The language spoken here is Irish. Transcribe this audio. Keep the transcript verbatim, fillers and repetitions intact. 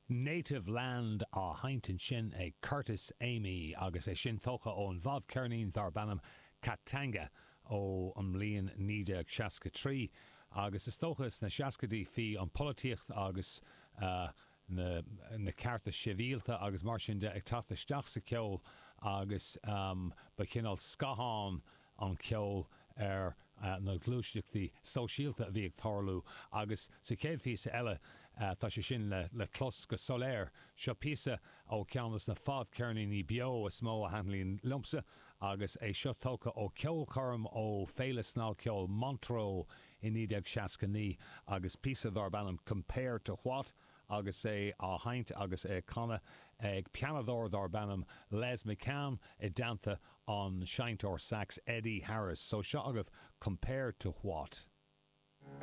Native Land á sheinnt ansin ag Curtis Amy agus é sin tógtha ón bhfadcheirnín darb ainm Katanga ó an mbliain naoi déag seasca trí agus is dócha sna seascaidí bhí an pholaitíocht agus na na cearta sibhialta agus mar sin de ag teacht isteach sa cheol agus ba chineál scáthán an ceol ar na gluaiseachtaí sóisialta a bhí ag tarlú agus sa chéad phíosa eile tá sé sin le clos go soiléir. Seo píosa ó cheann de na fadcheirníní beo is mó a thaitníonn liomsa agus é seo tógtha ó cheolchoirm ó Féile Snagcheoil Montreux i naoi déag seasca naoi agus píosa darb ainm Compare to What? Agus é á sheinnt agus é canadh ag pianadóir darb ainm Les McCann i dteannta an seinnteoir sax Eddie Harris. So seo agaibh Compare to What?